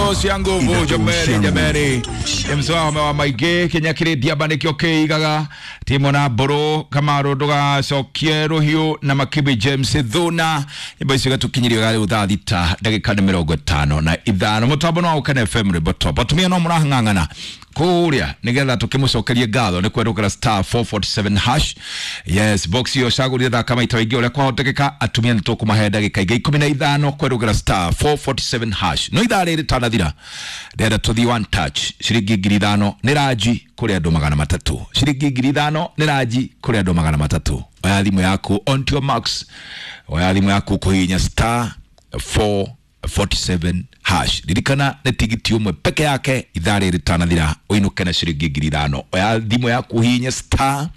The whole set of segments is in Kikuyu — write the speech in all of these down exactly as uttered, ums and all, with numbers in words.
Inatosha nguvu jameni, jameni. Mswao wa maingĩ kinya kĩrĩ ndiamba nĩkĩo kĩigaga timo na mbũrũ kamaru ndũgacokie rũhiũ na makibi James Thuna. Nyĩmbo icio igatukinyirio rĩu thaa thita ndagĩka nĩ mĩrongo ĩtano na ithano. Mũtambo no wa Ũkene F M rwĩmbo top. Atumia no mũrahang'ang'ana kũrĩa nĩgetha tũkĩmũcokerie ngatho nĩ kwerũkĩra star four forty-seven hash. Yes, box iyo cagũrire thaka maita maingĩ ũrĩa kwahotekeka. Atumia nĩ tũkũmahe ndagĩka ingĩ ikũmi na ithano kwerũkĩra star four forty-seven hash. No ithaa rĩrĩ rĩtanathira ndĩrenda tũthiĩ one touch ciringi ngiri ithano nĩ ranji kũrĩ andũ magana matatũ. Ciringi ngiri ithano nĩ ranji kũrĩ andũ magana matatũ. Oya thimũ yaku on to your max, oya thimũ yaku kũhihinya star four forty-seven hash. Ririkana nĩ tigiti ũmwe peke yake ithaa rĩrĩ rĩtanathira ũinũke na ciringi ngiri ithano. Oya thimũ yaku hihinya star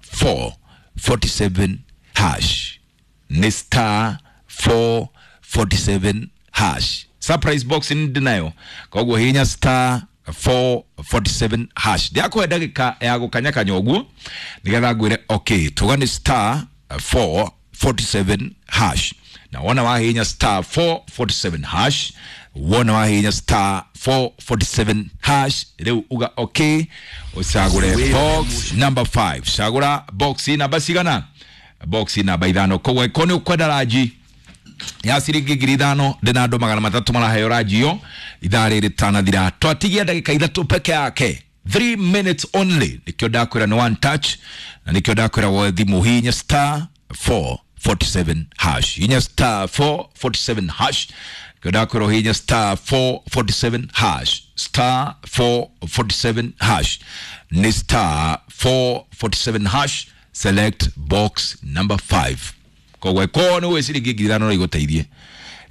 four forty-seven hash. Nĩ star four forty-seven hash. Surprise box nĩ ndĩnayo, koguo hihinya star four forty-seven hash. Ndĩrakũhe ndagĩka ya gũkanyakanya ũguo nĩgetha ngwĩre okay, tuga nĩ star four forty-seven hash. Na wona wahihinya star four forty-seven hash, wona wahihinya star four forty-seven hash, rĩu uga okay, ũcagũre box number five. Cagũra box namba cigana? Box namba ithano. Koguo angĩkorwo nĩ ũkwenda ranji ya ciringi ngiri ithano ndĩna andũ magana matatũ maraheo ranji ĩyo ithaa rĩrĩ rĩtanathira. Twatigia ndagĩka ithatũ peke yake, three minutes only. Nĩkĩo ndakwĩra nĩ one touch, na nĩkĩo ndakwĩra woe thimũ hihinya star four forty-seven hash. Hihinya star four forty-seven hash. Nĩkĩo ndakwĩra ũhihinye star four forty-seven hash. Star four forty-seven hash. Nĩ star four forty-seven hash. Select box number five. Koguo ĩkorwo nĩ ũĩ ciringi ngiri ithano no igũteithie,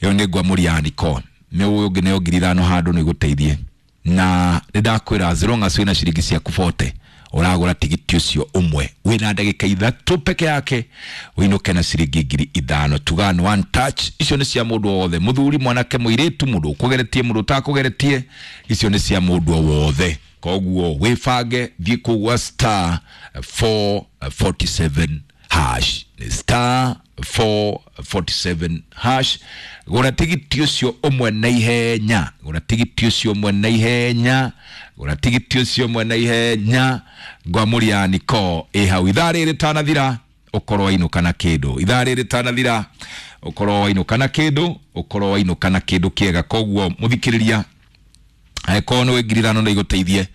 ĩyo nĩ ngwamũri ya Nikon. Nĩ ũĩ ũngĩ nĩyo ngiri ithano handũ no igũteithie. Na nĩ ndakwĩra as long as wĩna ciringi ciaku forty ũragũra tigiti ũcio ũmwe wĩna ndagĩka ithatũ peke yake ũinũke na ciringi ngiri ithano. Tuga nĩ one touch. Icio nĩ cia mũndũ o wothe, mũthuri, mwanake, mũirĩtu, mũndũ ũkũgeretie, mũndũ ũtakũgeretie, icio nĩ cia mũndũ o wothe. Koguo wĩbange, thiĩ kũu gwa star four forty-seven hash. Nĩ star four forty-seven hash. Gũra tigiti ũcio ũmwe na ihenya, gũra tigiti ũcio ũmwe na ihenya, gũra tigiti ũcio ũmwe na ihenya. Ngwamũri ya Niko ĩ hau. Ithaa rĩrĩ rĩtanathira ũkorwo wainũka na kĩndũ. Ithaa rĩrĩ rĩtanathira ũkorwo wainũka na kĩndũ, ũkorwo wainũka na kĩndũ kĩega. Koguo mũthikĩrĩria, angĩkorwo nĩ wĩ ngiri ithano no igũteithie,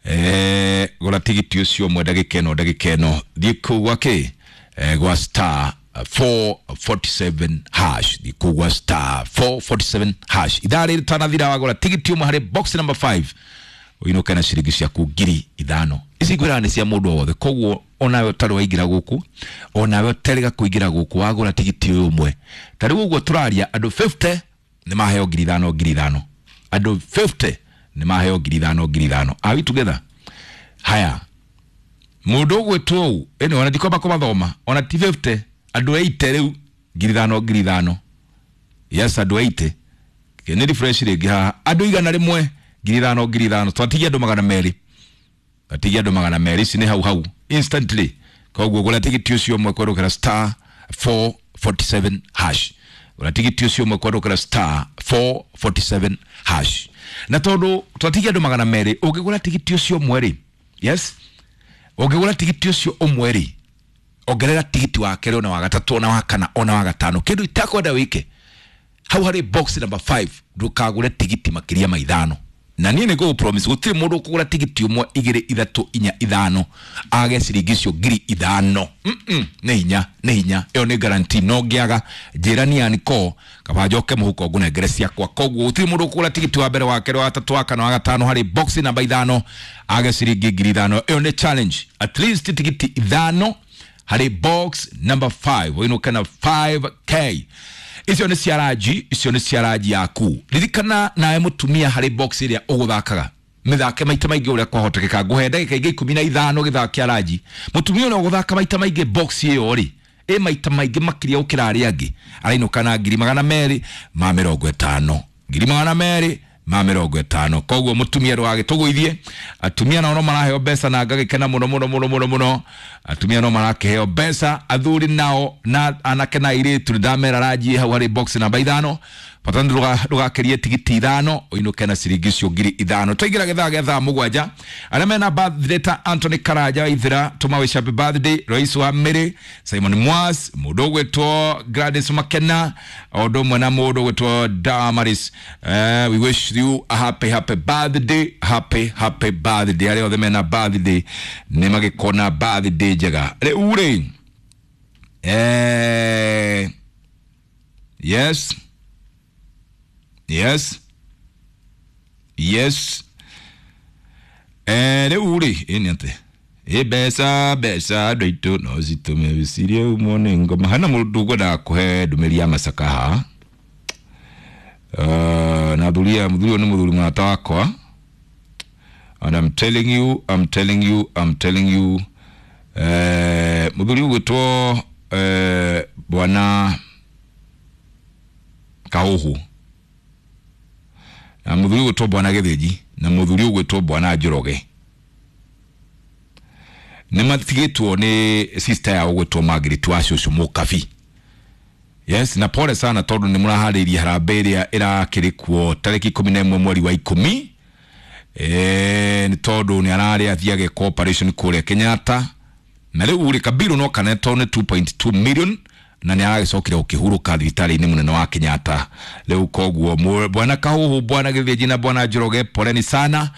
eh, gũra tigiti ũcio ũmwe ndagĩka ĩno, ndagĩka ĩno. Thiĩ kũu gwa kĩ? Eh, gwa star four forty-seven hash. Thiĩ kũu gwa star four forty-seven hash. Ithaa rĩrĩ rĩtanathira wagũra tigiti ũmwe harĩ box number five ũinũke na ciringi ciaku ngiri ithano. Ici ngwĩraga nĩ cia mũndũ o wothe. Koguo onawe ũtarĩ waingĩra gũkũ, onawe ũterĩga kũingĩra gũkũ, wagũra tigiti ũyũ ũmwe. Ta rĩu ũguo tũraria andũ fifty nĩ maheo ngiri ithano ngiri ithano. Andũ fifty nĩ maheo ngiri ithano ngiri ithano. Are we together? Haya. Mũndũ ũgwĩtwo ũũ, ĩno ona ndikwamba kũmathoma, ona ti fifty, andũ eighty rĩu ngiri ithano ngiri ithano. Yes, andũ eighty. Nĩ refresh rĩngĩ haha. Andũ igana rĩmwe ngiri ithano ngiri ithano. Twatigia andũ magana merĩ. Twatigia andũ magana merĩ. Ici nĩ hau hau instantly. Koguo gũra tigiti ũcio ũmwe kwerũkĩra star four forty-seven hash. Gũra tigiti ũcio ũmwe kwerũkĩra star four forty-seven hash. Na tondũ twatigia andũ magana merĩ, ũngĩgũra tigiti ũcio ũmwe rĩ, yes, ũngĩgũra tigiti ũcio ũmwe rĩ, ongerera tigiti wa kerĩ ona wa gatatũ ona wa kana ona wa gatano. Kĩndũ itakwenda wĩke hau harĩ box number five, ndũkagũre tigiti makĩria ma ithano. Na niĩ nĩ ngũgũ promise gũtirĩ mũndũ ũkũgũra tigiti ũmwe igĩrĩ ithatũ inya ithano age ciringi icio ngiri ithano. Mm-mm, nĩ hinya, nĩ hinya. Ĩyo nĩ guarantee. No ngĩaga njĩra ni ya Niko kaba njoke mũhuko ngũnengere ciakwa. Koguo gũtirĩ mũndũ ũkũgũra tigiti wa mbere wa kerĩ wa gatatũ wa kana wa gatano harĩ box namba ithano age ciringi ngiri ithano. Ĩyo nĩ challenge. At least tigiti ithano harĩ box number five ũinũke na five K. Icio nĩ cia ranji, icio nĩ cia ranji yaku. Ririkana nawe mũtumia harĩ box ĩrĩa ũgũthakaga, mĩthake maita maingĩ ũrĩa kwahotekeka. Ngũhe ndagĩka ingĩ ikũmi na ithano gĩthaka kĩa ranji. Mũtumia ũrĩa ũgũthaka maita maingĩ box ĩyo rĩ, ĩ maita maingĩ makĩria gũkĩra arĩa angĩ, arainũka na ngiri magana merĩ ma mĩrongo ĩtano. Ngiri magana merĩ ma mĩrongo ĩtano. Koguo mũtumia ndũgagĩtũgũithie. Atumia nao no maraheo mbeca na ngagĩkena mũno mũno mũno mũno mũno. Atumia no marakĩheo mbeca, athuri nao na anake na airĩtu nĩ ndamera ranji hau harĩ box namba ithano. Bata ndũgakerie tigiti ithano ũinũke na ciringi icio ngiri ithano. Twaingĩra gĩthaa gĩa thaa mũgwanja, arĩa mena birthday ta Anthony Karanja wa Ithira, tũma wish happy birthday Rais wa Mĩrĩ, Simon Mwas, mũndũ ũgwĩtwo Gladys Makena, o ũndũ ũmwe na mũndũ ũgwĩtwo Damaris. Uh, we wish you a happy happy birthday, happy happy birthday. Arĩa othe mena birthday nĩ magĩkona birthday njega. Rĩu rĩ, eh, yes yes yes eh, rĩu rĩ, ĩni atĩ ĩ mbeca mbeca andũ aitũ no citũme wĩcirie umwo nĩ ngoma. Hena mũndũ ũkwendaga kũhe ndũmĩrĩri ya macaka haha. Uh, na athuri aya, mũthuri ũyũ nĩ mũthuri mũrata wakwa, and I'm telling you, I'm telling you, I'm telling you, eh, mũthuri ũgwĩtwo eh, bwana Kahuhu na mũthuri ũgwĩtwo bwana Gĩthĩnji na mũthuri ũgwĩtwo bwana Njoroge nĩ matigĩtwo nĩ sister yao ũgwĩtwo Margaret wa cũcũ Mũkabi. Yes, na pole sana tondũ nĩ mũraharĩirie harambee ĩrĩa ĩrakĩrĩ kuo tarĩki ikũmi na ĩmwe mweri wa ikũmi, eh, nĩ tondũ nĩ ararĩ athiĩ ageka operation kũrĩa Kenyatta, na rĩu rĩ kabiru no kanetwo nĩ two point two million na nĩ aragĩcokire gũkĩhurũka thibitarĩ-inĩ mũnene wa Kenyatta. Rĩu koguo bwana Kahuhu, bwana Gĩthĩnji na bwana Njoroge, poleni sana.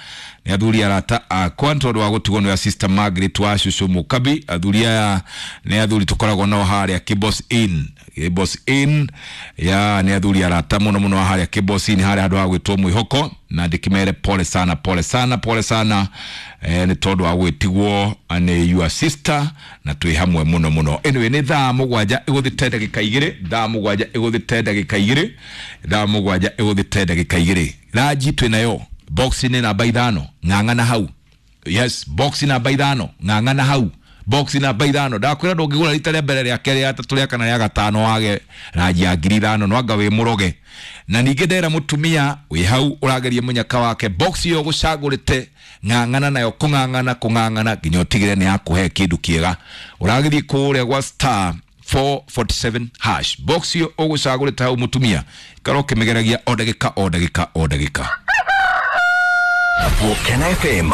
Nĩ athuri arata akwa nĩ tondũ wa gũtigwo nĩ sister Margaret wa cũcũ Mũkabi. Athuri aya nĩ athuri tũkoragwo nao harĩa Kibos Inn, Kibos Inn ya nĩ athuri arata mũno mũno harĩa Kibos Inn, harĩa handũ ha gwĩtwo Mwĩhoko, na ndĩkĩmere pole sana, pole sana, pole sana, eh, nĩ tondũ wa gwĩtigwo nĩ your sister, na twĩ hamwe mũno mũno. Anyway, nĩ thaa mũgwanja ĩgũthĩte ndagĩka igĩrĩ, thaa mũgwanja ĩgũthĩte ndagĩka igĩrĩ, thaa mũgwanja ĩgũthĩte ndagĩka igĩrĩ. Ranji twĩ nayo box nĩ namba ithano, ng'ang'ana hau. Yes, box namba ithano, ng'ang'ana hau. Box namba ithano. Ndakwĩra ndũngĩgũra rita rĩa mbere, rĩa kerĩ, rĩa gatatũ, rĩa kana, rĩa gatano wage ranji ya ngiri ithano, no anga wĩ mũroge. Na ningĩ ndera mũtumia wĩ hau ũrageria mũnyaka wake, box ĩyo ũgũcagũrĩte ng'ang'ana nayo, kũng'ang'ana kũng'ang'ana nginya ũtigĩre nĩ yakũhe kĩndũ kĩega. Ũragĩthiĩ kũrĩa gwa star four forty seven hash, box ĩyo ũgũcagũrĩte hau mũtumia, ikara ũkĩmĩgeragia o ndagĩka o ndagĩka o ndagĩka. Volcano F M.